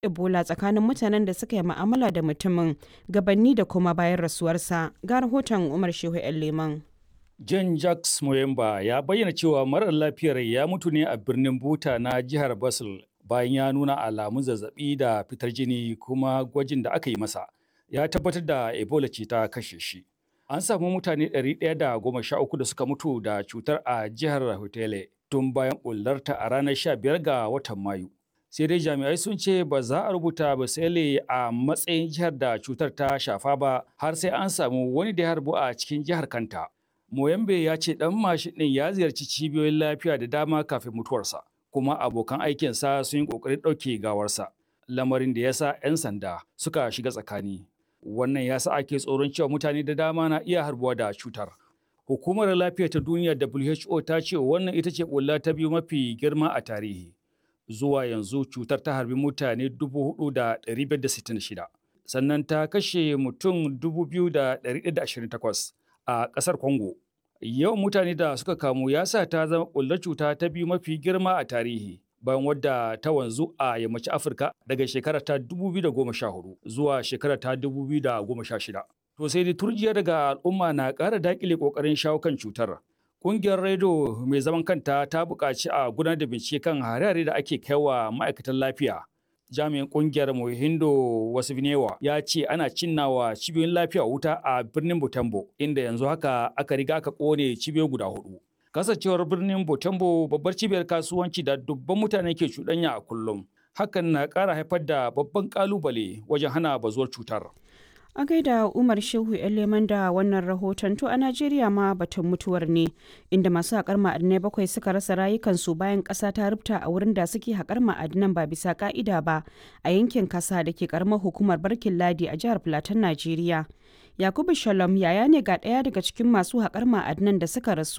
Ebola tsakanin mutanen da suka yi ma'amala da mutumin gabanni da kuma bayan rasuwarsa. Ga rahoton Umar Shehu 'yan Leman. John Jacques Moyemba ya bayyana cewa marar lafiyar ya mutu ne a birnin Buta na jihar Basel bayan ya nuna alamun zazzabi da fitar jini, kuma gwajin da aka yi masa ya tabbatar da Ebola ce ta kashe shi. An samu mutane 113 da suka mutu da cutar a jihar Hotele tun bayan bullarta a ranar 15 ga watan Mayu. Sai dai jami'ai sun ce ba za a rubuta Basele a matsayin jihar da cutar ta shafa ba har sai an samu wani da ya harbu a cikin jihar kanta. Moyambe ya ce ɗan mashin ɗin ya ziyarci cibiyoyin lafiya da dama kafin mutuwarsa, kuma abokan aikinsa sun yi ƙoƙarin ɗauke gawarsa, lamarin da ya sa 'yan sanda suka shiga tsakani. Wannan ya sa ake tsoron cewa mutane da dama na iya harbuwa da cutar. Hukumar Lafiya ta Duniya WHO ta ce wannan ita ce ɓulla ta biyu mafi girma a tarihi. Zuwa yanzu cutar ta harbi mutane 4,566, sannan ta kashe mutum 2,128 a ƙasar Congo. Yawan mutane da suka kamu ya sa ta zama ɓullar cuta ta biyu mafi girma a tarihi, bayan wadda ta wanzu a yammacin Afirka daga shekara ta 2014 zuwa shekara ta 2016. To sai dai turjiya daga al'umma na ƙara daƙile ƙoƙarin shawo kan cutar. Ƙungiyar Redo mai zaman kanta ta buƙaci a gudanar da bincike kan hare-hare da ake kaiwa ma'aikatan lafiya. Jami'in kungiyar Mohindo Wasifnewa ya ce ana cinnawa cibiyoyin lafiya wuta a birnin Butembo, inda yanzu haka aka riga aka kone cibiyoyi guda hudu. Kasancewar birnin Butembo babbar cibiyar kasuwanci da dubban mutane ke cuɗanya a kullum, hakan na ƙara haifar da babban ƙalubale wajen hana bazuwar cutar. A gaida Umar Shehu Leman da wannan rahoton. To, a Najeriya ma batun mutuwar ne, inda masu haƙar ma'adinai bakwai suka rasa rayukansu bayan ƙasa ta rubta a wurin da suke haƙar ma'adinan ba bisa ƙa'ida ba a yankin kasa da ke ƙaramar hukumar Barkin Ladi a jihar Filatin Najeriya. Yakubu Shalom yaya ne ga ɗaya daga cikin masu haƙar ma'adinan da suka rasu.